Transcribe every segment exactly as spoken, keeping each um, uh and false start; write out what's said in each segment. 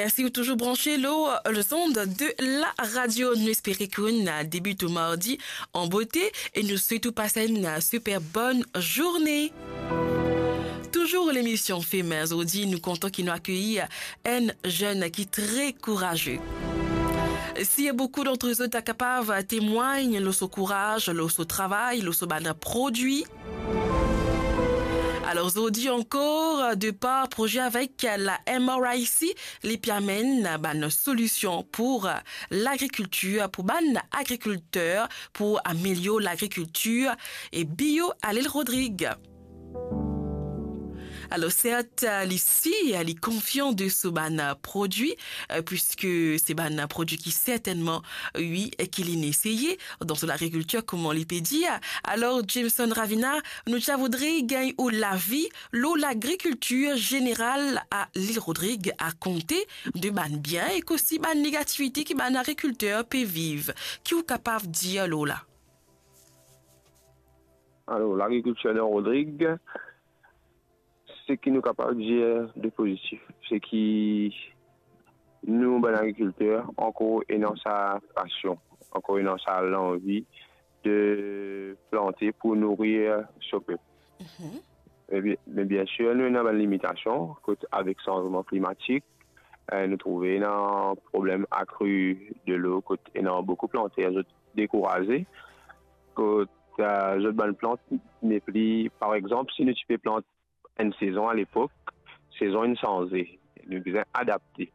Si ou touzour branche lor lezond de la radio, nou espere ki ou'nn debit ou mardi an bote e nou swet ou pas enn super bonn zourne. Touzour lemision Femin, zordi nou kontan ki nou akeyir enn zenn ki tre kouraze. Si boukou d'antre zot kapav temwagn lor so kouraz, lor so travay, lor so bann prodwi. Alor, zordi ankor, de par proze avek la M R I C, li pe amenn bann solision pou lagrikiltir, pou bann agrikilter, pou amelior lagrikiltir e bio a Lil Rodrig. Alor, sert, li sir, li konfian de so bann prodwi, eh, puiske se bann prodwi ki sertennman, wi, ki li'nn eseye dan so lagrikiltir, kouma li pe dir. Alor, Jameson Ravina, nou ti a voudre gagn ou lavi lor lagrikiltir zeneral a Lil Rodrig, a konte de bann bien ek osi bann negativite ki bann agrikilter pe viv. Ki ou kapav dir lor la? Alor, lagrikiltir dan Rodrig, seki nou kapav dir de pozitif, seki nou bann agrikilter ankor ena sa pasion, ankor ena sa lanvi de plante pou nourir so pep. Mhm. Me bien, me bien sir, nou ena bann limitasion, kot avek sanzman klimatik, eh, nou trouve ena problem akri delo, kot ena boukou planter, zot dekouraze, kot, eh, zot bann plant nepli, par exanp, si nou ti pe plant enn sezon alepok, sezon inn sanze, nou bizin adapte.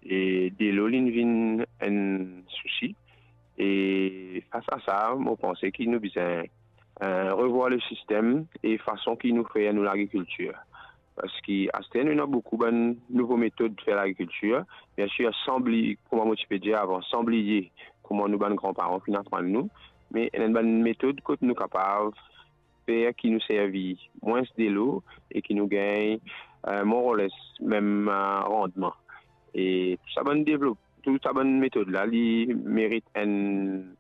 E delo linn vinn enn sousi. E fas a sa, mo panse ki nou bizin, eh, revwar le sistem e fason ki nou fer nou lagrikiltir. Parski aster nou ena boukou bann nouvo metod fer lagrikiltir. Bien sir, san bliye, kouma mo ti pe dir avan, san bliye kouma nou bann granparan finn aprann nou, me ena bann metod kot nou kapav fer ki nou servi mwins delo e ki nou gagn, eh, more or less mem, eh, randman. E tou sa bann devlop-, tou sa bann metod la, li merit enn,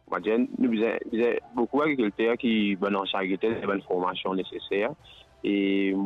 on va dir, nou bizin, bizin boukou agrikilter ki, bann ansien agrikilter, bann formasion neseser. E